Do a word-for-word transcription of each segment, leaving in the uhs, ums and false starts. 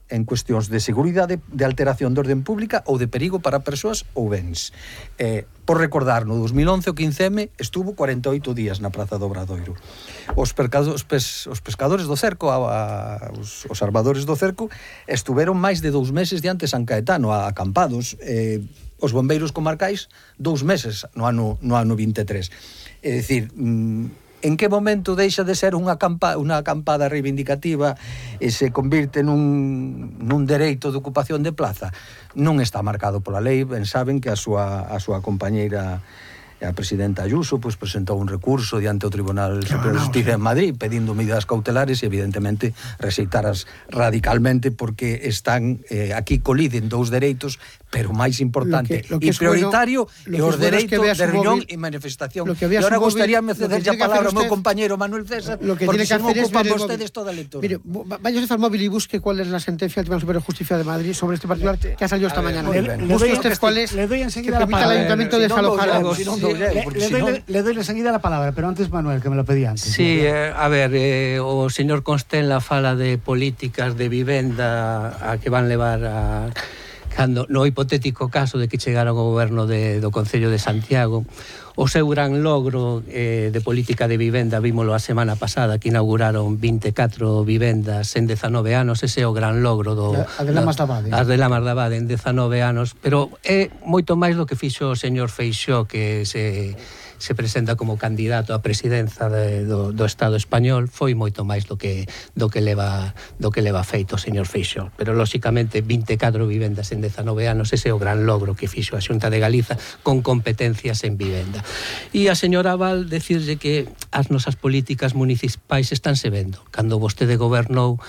en cuestións de seguridade, de alteración de orden pública ou de perigo para persoas ou bens. Eh, por recordar, no dos mil once o quince eme estuvo cuarenta e oito días na Praza do Obradoiro. Os, percado, os, pes, os pescadores do cerco, a, a, os, os armadores do cerco, estuveron máis de dous meses diante San Caetano, acampados. Eh, os bombeiros comarcais, dous meses no ano, no ano vinte e tres. É dicir, mm, en que momento deixa de ser unha, acampa, unha acampada reivindicativa e se convirte nun, nun dereito de ocupación de plaza? Non está marcado pola lei. Ben saben que a súa, a súa compañeira, a presidenta Ayuso, pues, presentou un recurso diante o Tribunal Superior de Justicia en Madrid pedindo medidas cautelares e evidentemente rexeitaras radicalmente porque están eh, aquí coliden dous dereitos, pero máis importante e prioritario é os dereitos de reunión e manifestación. E ahora gustaríame ceder a palabra ao meu compañero Manuel César, porque se non ocupan vostedes toda a lectura. Mire, vaya usted al móvil y busque cuál es la sentencia del Tribunal Superior de Justicia de Madrid sobre este particular que ha salido esta mañana. Busque usted cuál es, le doy enseguida que permita al ayuntamiento desalojar. Le doy enseguida la palabra, pero antes Manuel, que me lo pedía antes. Sí, eh, a ver, eh, o señor Constenla fala de políticas de vivenda a que van levar a... Cando, no hipotético caso de que chegara o goberno de, do Concello de Santiago, o seu gran logro eh, de política de vivenda, vímolo a semana pasada, que inauguraron vinte e catro vivendas en dezanove anos, ese é o gran logro do... A de Lamas da Abade. As de Lamas da Abade en dezanove anos, pero é moito máis do que fixo o señor Feixóo, que se... se presenta como candidato á presidenza de, do, do Estado español, foi moito máis do que do que leva do que leva feito o señor Feixóo, pero lóxicamente vinte e catro vivendas en dezanove anos, ese é o gran logro que fixo a Xunta de Galiza con competencias en vivenda. E a señora Val decirlle que as nosas políticas municipais estánse vendo. Cando vostede gobernou,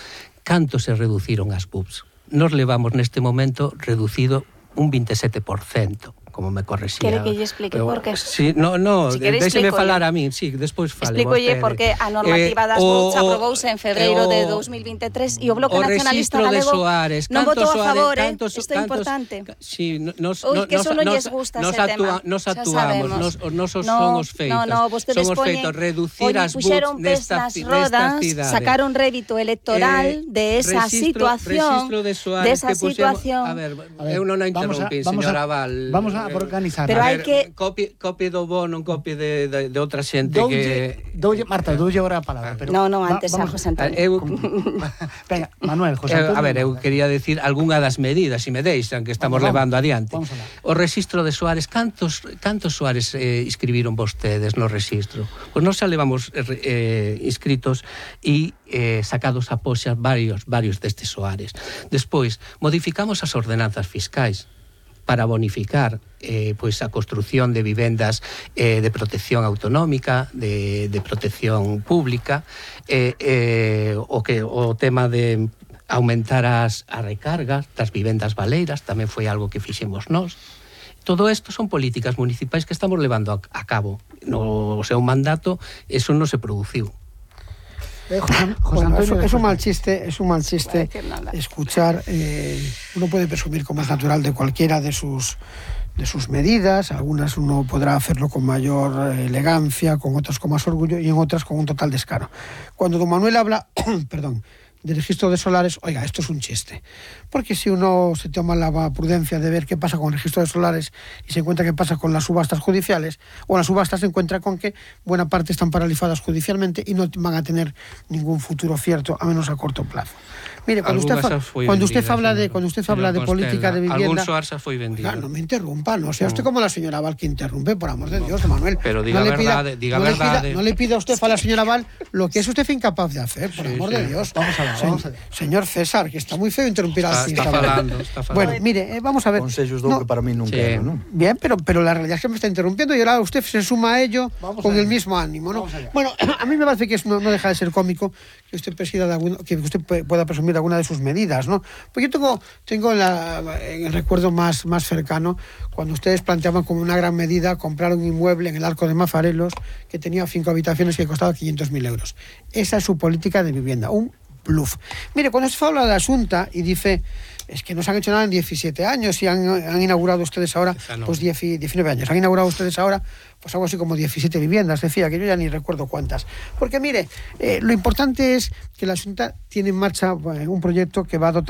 canto se reduciron as B U Ps? Nos levamos neste momento reducido un vinte e sete por cento. Como me correxía. Quere que lle explique pero, por qué? Sí, no, no, si déxeme falar a min, sí, despois fale. Explícolle porque a normativa eh, das B U Ps aprobouse en febreiro de dos mil vinte e tres e o Bloque Nacionalista Galego non votou a favor, eh? Isto é importante. Sí, nos Ui, que eso non lles gusta ese tema. Nos actuamos, nos nosos son os feitos. No, no, vostedes poñen, reducir as B U Ps nestas rodas, sacaron rédito electoral de esa situación, de esa situación. A ver, eu non a interrumpí, señora Val. Vamos a organizar. Pero hai que copie copie do bo, non copie de, de, de outra xente doulle, que doulle, Marta, doulle agora a palabra, pero No, no, antes va, a José Antonio. Eu Venga, Manuel, José Antonio. A ver, eu quería decir algunha das medidas, se me deixan, que estamos vamos, levando adiante. O rexistro de soares, cantos cantos soares eh, inscribiron vostedes no rexistro? Pois nós xa levamos eh, inscritos e eh, sacados a poxa varios varios destes soares. Despois, modificamos as ordenanzas fiscais para bonificar eh, pues, a construción de vivendas eh, de protección autonómica, de, de protección pública, eh, eh, o, que, o tema de aumentar as, as recargas das vivendas baleiras, tamén foi algo que fixemos nós. Todo isto son políticas municipais que estamos levando a, a cabo. No seu mandato, eso non se produciu. Eh, José, José bueno, Antonio, es, es un mal chiste, es un mal chiste escuchar. Eh, uno puede presumir como es natural de cualquiera de sus de sus medidas. Algunas uno podrá hacerlo con mayor elegancia, con otras con más orgullo y en otras con un total descaro. Cuando don Manuel habla, perdón, de registro de solares, oiga, esto es un chiste. Porque si uno se toma la prudencia de ver qué pasa con el registro de solares y se encuentra qué pasa con las subastas judiciales, o en las subastas se encuentra con que buena parte están paralizadas judicialmente y no van a tener ningún futuro cierto, a menos a corto plazo. Mire, cuando usted, fa, cuando usted vendida, habla de cuando usted habla de política de vivienda, algún soar xa foi vendido. Claro, no me interrumpa, no sea usted como la señora Val que interrumpe, por amor de Dios, Manuel. Pero diga no le pida, verdade, diga no verdade. Le pida, no le pida usted a la señora Val lo que es usted incapaz de hacer, por sí, amor sí. de Dios. Vamos a ver, Se, vamos a ver. Señor César, que está muy feo interrumpir está, así. Está, está falando, está falando. Bueno, mire, eh, vamos a ver. Consellos dou no, que para mí nunca, sí. ¿no? Bien, pero, pero la realidad es que me está interrumpiendo y ahora usted se suma a ello vamos con a el mismo ánimo, ¿no? Bueno, a mí me parece que es, no, no deja de ser cómico que usted presida de alguna, que usted pueda presumir de alguna de sus medidas, ¿no? Porque yo tengo, tengo en, la, en el recuerdo más, más cercano cuando ustedes planteaban como una gran medida comprar un inmueble en el Arco de Mafarelos que tenía cinco habitaciones y que costaba quinientos mil euros. Esa es su política de vivienda, un bluff. Mire, cuando se habla de la Xunta y dice es que no se han hecho nada en diecisiete años y han, han inaugurado ustedes ahora pues diecinueve años. Han inaugurado ustedes ahora pues algo así como diecisiete viviendas, decía, que yo ya ni recuerdo cuántas. Porque mire, eh, lo importante es que la Xunta tiene en marcha eh, un proyecto que va a dotar